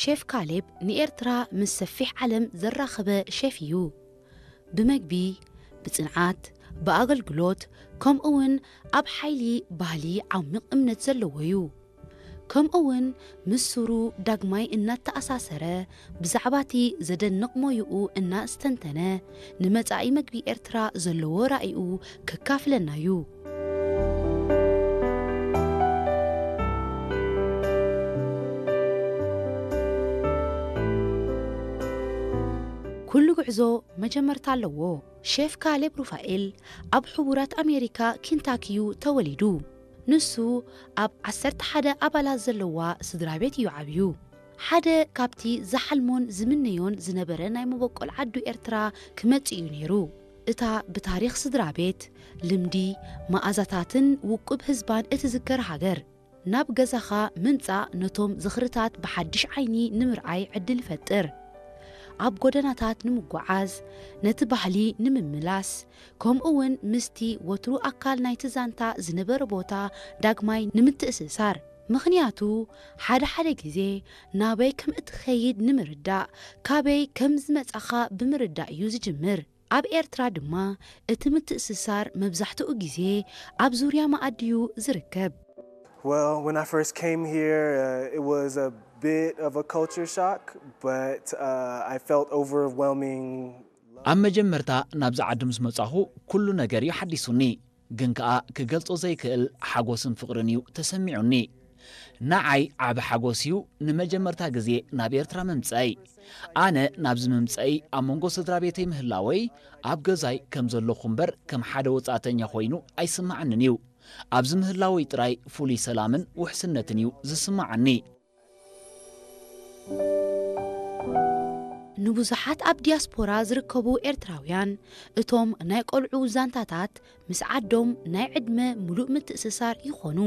ሼፍ ካሌብ ንኤርትራ ምስ ሰፊሕ ዓለም ዘራኸበ ሼፍ እዩ። ብመግቢ፣ ብጽንዓት፣ ብኣገልግሎት፣ ከምኡውን ኣብ ሓይሊ ባህሊ ዓሚቕ እምነት ዘለዎ እዩ። ከምኡውን ምስ ሱሩ ዳግማይ እናተኣሳሰረ፣ ብዛዕባ እቲ ዘደንቕ ሞይኡ እናስተንተነ፣ ንመጻኢ መግቢ ኤርትራ ዘለዎ ራኢኡ ከካፍለና እዩ። ኩሉ ጉዕዞ መጀመርታ ኣለዎ። ሼፍ ካሌብ ሩፋኤል ኣብ ሕቡራት ኣሜሪካ ኪንታኪ እዩ ተወሊዱ። ንሱ ኣብ ዓሰርተ ሓደ ኣባላት ዘለዋ ስድራ ቤት እዩ ዓብዩ። ሓደ ካብቲ ዝሓልሞን ዝምነዮን ዝነበረ ናይ መበቆል ዓዱ ኤርትራ ክመጽእ እዩ ነይሩ። እታ ብታሪኽ ስድራ ቤት፣ ልምዲ፣ መኣዛታትን ውቁብ ህዝባን እትዝከር ሃገር። ናብ ገዛኻ ምምጻእ ነቶም ዝኽርታት ብሓድሽ ዓይኒ ንምርኣይ ዕድል ይፈጥር። ኣብ ጎደናታት ንምጓዓዝ፣ ነቲ ባህሊ ንምምላስ፣ ከምኡ እውን ምስቲ ወትሩ ኣካል ናይቲ ዛንታ ዝነበረ ቦታ ዳግማይ ንምትእስሳር። ምኽንያቱ፣ ሓደ ሓደ ግዜ ናበይ ከም እትኸይድ ንምርዳእ፣ ካበይ ከም ዝመጻኻ ብምርዳእ እዩ ዝጅምር። ኣብ ኤርትራ ድማ እቲ ምትእስሳር መብዛሕትኡ ግዜ ኣብ ዙርያ መኣዲ እዩ ዝርከብ። Well, when I first came here, uh, it was a bit of a culture shock, but uh, I felt overwhelming. ኣብ መጀመርታ ናብዚ ዓዲ ምስ መጻኹ ኩሉ ነገር እዩ ሓዲሱኒ። ግን ከኣ ክገልጾ ዘይክእል ሓጎስን ፍቕርን እዩ ተሰሚዑኒ። ንዓይ ዓቢ ሓጎስ እዩ ንመጀመርታ ግዜ ናብ ኤርትራ ምምጸይ። ኣነ ናብዚ ምምጸይ ኣብ መንጎ ስድራ ቤተይ ምህላወይ ኣብ ገዛይ ከም ዘለኹ እምበር ከም ሓደ ወጻእተኛ ኮይኑ ኣይስምዓንን እዩ። ኣብዚ ምህላወይ ጥራይ ፍሉይ ሰላምን ውሕስነትን እዩ ዝስምዓኒ። ንብዙሓት ኣብ ዲያስፖራ ዝርከቡ ኤርትራውያን እቶም ናይ ቆልዑ ዛንታታት ምስ ዓዶም ናይ ዕድመ ምሉእ ምትእስሳር ይኾኑ።